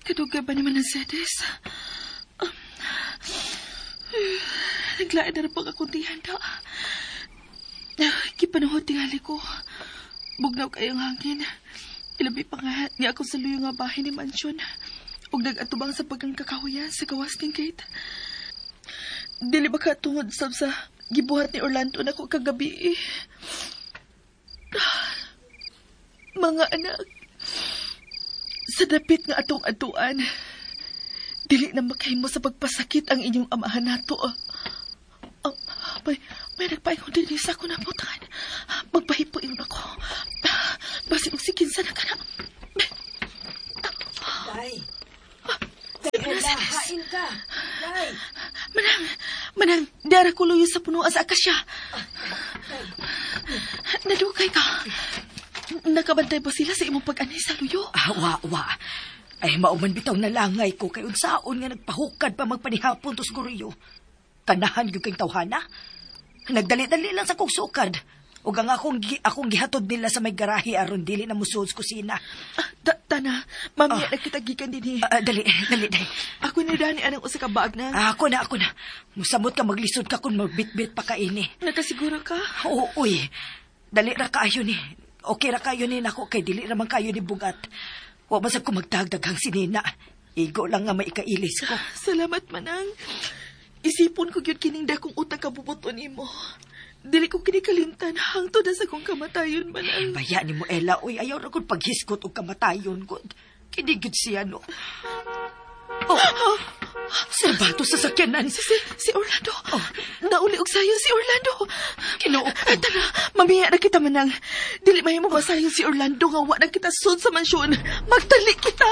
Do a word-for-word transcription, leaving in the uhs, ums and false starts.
Kadugay ba ni Mercedes? Um, naglain na rin pag akong tihanda. Gipanuhod tingali ko. Bugnaw kayong hangin. Ilabi pa nga niya ako sa luyo nga bahay ni mansyon. Ug nag-atubang sa pagkang kakahuyan sa gawas ning gate. Dili ba ka tungod sab sa gibuhat ni Orlando nako kagabi? Mga anak, sa dapit nga atong atuan, dili na makahimo sa pagpasakit ang inyong amahan nato. Oh, may, may nagpaingon din sa ako na putan. Magpahipo yun ako. Basin og si kinsa na kana. Day. Day, Ella, hain ka. Day. Manang, manang, diara ko luyo sa punuan sa akasya. Nadukay ka. Nakabantay ba sila sa imong pag-anhi sa luyo? Ah, wa, wa. Ay, mauman bitaw na langay ko kay unsaon nga nagpahukad pa magpanihapon to siguro. Kanahan gyud kay tawhana. Nagdali-dali lang sa kong sukad. Ug ang akong, gi- akong gihatod nila sa may garahe aron dili na musuod sa kusina. Ah, ta tana, mamaya na kita gikan dinhi. Ah, ah, dali, dali, dali. Ako ni Dani anang usa ka baag na. Ah, ako na, ako na. Musamot ka maglisod ka kung magbitbit pa ka ini. Nakasiguro ka? Oo, uy. Dali ra kaayo ni. Okay ra kayo ni nako kay dili ra man kayo ni bugat. Wa man sab ko magdagdaghang sinina. Igo lang nga maikailis ko. Salamat, Manang. Isipon ko gyud kining dakong utang kabubuton nimo. Dili ko kini kalimtan hangtod na sa kong kamatayon, Manang. Baya ni mo Ella, uy, ayaw ra gud paghisgot og kamatayon gud. Kini gyud siya no. Oh, Serbato sa sakyanan. Si, si, si Orlando. Oh. Nauli og sayon si Orlando. Ginoo ko. Ay, tara, mamiya na kita, Manang. Dili mahimo masayon si Orlando nga wa na kita sud sa mansyon. Magtali kita.